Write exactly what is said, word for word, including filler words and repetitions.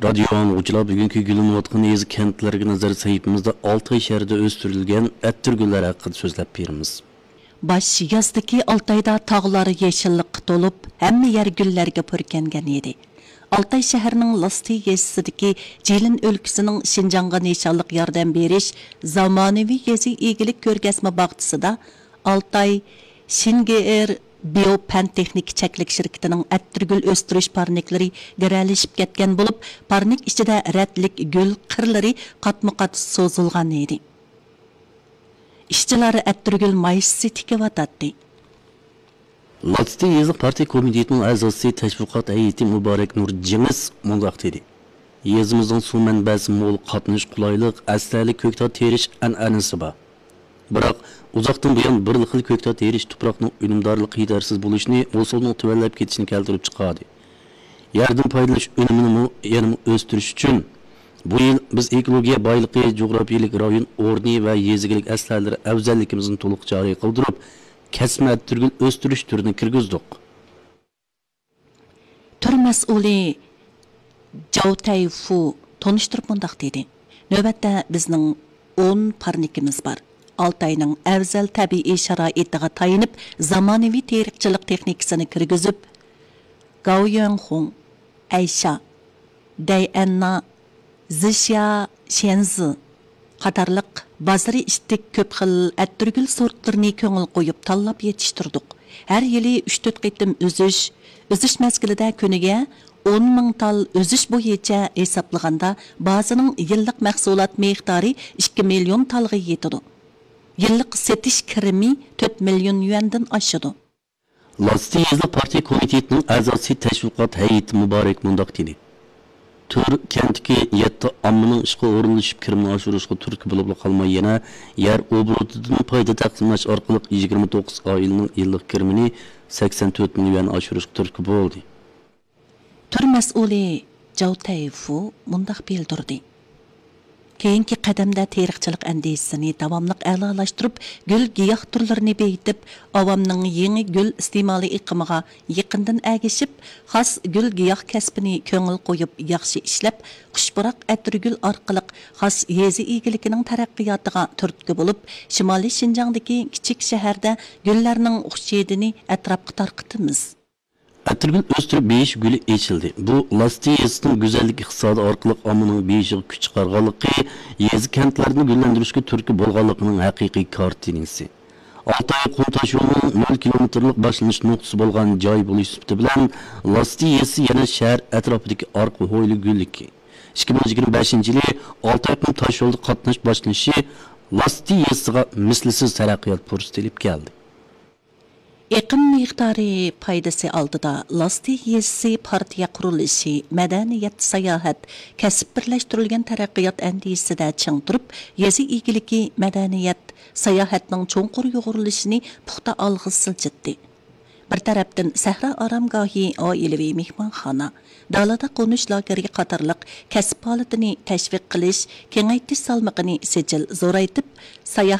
رادىيو ئاڭلىغۇچىلار، بۈگۈنكى گۈللىنىۋاتقان يېزا، كەنتلەرگە نەزەر سەھىپىمىزدە ئالتاي شەھىرىدە ئۆستۈرۈلگەن ئەتىر گۈللەر ھەققىدە سۆزلەپ بېرىمىز. باش يازدىكى ئالتايدا تاغلار يېشىللىققا تولۇپ، ھەممە يەر گۈللەرگە پۈركەنگەن ئىدى. ئالتاي شەھىرىنىڭ لاستى يېزىسىدىكى جىلىن ئۆلكىسىنىڭ شىنجاڭغا نىشانلىق ياردەم بېرىش زامانىۋى يېزا ئىگىلىك كۆرگەزمە باغچىسىدا ئالتاي شىنگېئېر بىيو پەن تېخنىكا چەكلىك شىركىتىنىڭ ئەتىرگۈل ئۆستۈرۈش پارنىكلىرى گىرەلىشىپ كەتكەن بولۇپ، پارنىك ئىچىدە رەتلىك گۈل قىرلىرى قاتمۇ قات سوزۇلغان ئىدى. ئىشچىلار ئەتىرگۈل مايسىسى تىكىۋاتاتتى. لاستى يېزا پارتىيە كومىتېتىنىڭ ئەزاسى، تەشۋىقات ھەيئىتى مۇبارەك نۇر جېڭىز مۇنداق دېدى: يېزىمىزنىڭ سۇ مەنبەسى مول، قاتنىشى قولايلىق، ئەستەيلىك كۆكتات تېرىش ئەنئەنىسى بار. بىراق، ئۇزاقتىن بۇيان بىرلا خىل كۆكتات تېرىش تۇپراقنىڭ ئۈنۈمدارلىقى يېتەرسىز بولۇشىنى، ھوسۇلنىڭ تۆۋەنلەپ كېتىشىنى كەلتۈرۈپ چىقاردى. يەردىن پايدىلىنىش ئۈنۈمىنىمۇ يەنىمۇ ئۆستۈرۈش ئۈچۈن، بۇ يىل بىز ئېكولوگىيە بايلىقى، جۇغراپىيەلىك رايون ئورنى ۋە يېزا ئىگىلىك ئەسلىھەلىرى ئەۋزەللىكىمىزنى تولۇق جارى قىلدۇرۇپ، كەسمە ئەتىرگۈل ئۆستۈرۈش تۈرىنى كىرگۈزدۇق. تۈر مەسئۇلى جاۋ تەيفۇ تونۇشتۇرۇپ مۇنداق دېدى: نۆۋەتتە بىزنىڭ ئون پارنىكىمىز بار. ئالتاينىڭ ئەۋزەل تەبىئىي شارائىتىغا تايىنىپ، زامانىۋى تېرىقچىلىق تېخنىكىسىنى كىرگۈزۈپ، گاۋيۈەنخۇڭ، ئەيشا، دەيئەننا، زىشيا شيەنزى قاتارلىق بازىرى ئىتتىك كۆپ خىل ئەتىرگۈل سورتلىرىنى كۆڭۈل قويۇپ تاللاپ يېتىشتۈردۇق. ھەر يىلى ئۈچ تۆت قېتىم ئۈزۈش، ئۈزۈش مەزگىلىدە كۈنىگە ئون مىڭ تال ئۈزۈش بويىچە ھېسابلىغاندا، بازىنىڭ يىللىق مەھسۇلات مىقدارى ئىككى مىليون تالغا يېتىدۇ. يىللىق سېتىش كىرىمى تۆت مىليون يۈەندىن ئاشىدۇ. لاستى يېزىلىق پارتىيە كومىتېتىنىڭ ئەزاسى، تەشۋىقات ھەيئىتى مۇبارەك مۇنداق دېدى: تۈر كەنتتىكى يەتتە ئاممىنىڭ ئىشقا ئورۇنلىشىپ، كىرىمىنى ئاشۇرۇشقا تۈرتكە بولۇپلا قالماي، يەنە يەر ئوبوروتىدىن پايدا تەقسىملەش ئارقىلىق يىگىرمە توققۇز ئائىلىنىڭ يىللىق كىرىمىنى سەكسەن تۆت مىليون يۈەن ئاشۇرۇشقا تۈرتكە بولدى. تۈر مەسئۇلى جاۋ تەيفۇ مۇنداق بىلدۈردى: كېيىنكى قەدەمدە تېرىقچىلىق ئەندىزىسىنى داۋاملىق ئەلالاشتۇرۇپ، گۈل گىياھ تۈرلىرىنى بېيىتىپ، ئاۋامنىڭ يېڭى گۈل ئىستېمالى ئېقىمىغا يېقىندىن ئەگىشىپ، خاس گۈل گىياھ كەسپىنى كۆڭۈل قويۇپ ياخشى ئىشلەپ، خۇش پۇراق ئەتىرگۈل ئارقىلىق خاس يېزا ئىگىلىكىنىڭ تەرەققىياتىغا تۈرتكە بولۇپ، شىمالىي شىنجاڭدىكى كىچىك شەھەردە گۈللەرنىڭ خۇش ھىدىنى ئەتراپقا تارقىتىمىز. ئەتىرگۈل ئۆستۈرۈپ بېيىش گۈلى ئېچىلدى. بۇ لاستى يېزىسىنىڭ گۈزەللىك ئىقتىسادى ئارقىلىق ئاممىنىڭ بېيىشىغا كۈچ چىقارغانلىقى، يېزا كەنتلەرنى گۈللەندۈرۈشكە تۈرتكە بولغانلىقىنىڭ ھەقىقىي كارتىنىسى. ئالتاي قۇم تاشيولىنىڭ نۆل كىلومېتىرلىق باشلىنىش نۇقتىسى بولغان جاي بولۇش سۈپىتى بىلەن، لاستى يېزىسى يەنە شەھەر ئەتراپىدىكى ئارقا ھويلا گۈللۈكى. ئىككى مىڭ يىگىرمە بەشىنچى يىلى ئالتاي قۇم تاشيولىدا قاتناش باشلىنىشى لاستى يېزىسىغا مىسلىسىز تەرەققىيات پۇرسىتى ئېلىپ كەلدى. ئېقىم مىقدارى پايدىسى ئالدىدا، لاستى يېزىسى پارتىيە قۇرۇلۇشى، مەدەنىيەت، ساياھەت، كەسىپ بىرلەشتۈرۈلگەن تەرەققىيات ئەندىزىسىدە چىڭ تۇرۇپ، يېزا ئىگىلىكى، مەدەنىيەت، ساياھەتنىڭ چوڭقۇر يۇغۇرۇلۇشىنى پۇختا ئالغا سىلجىتتى. بىر تەرەپتىن، سەھرا ئارامگاھى، ئائىلىۋى مېھمانخانا، دالىدا قونۇش لاگېرى قاتارلىق كەسىپ پائالىيىتىنى تەشۋىق قىلىش، كېڭەيتىش سالمىقىنى سىجىل زورايتىپ، ساياھەت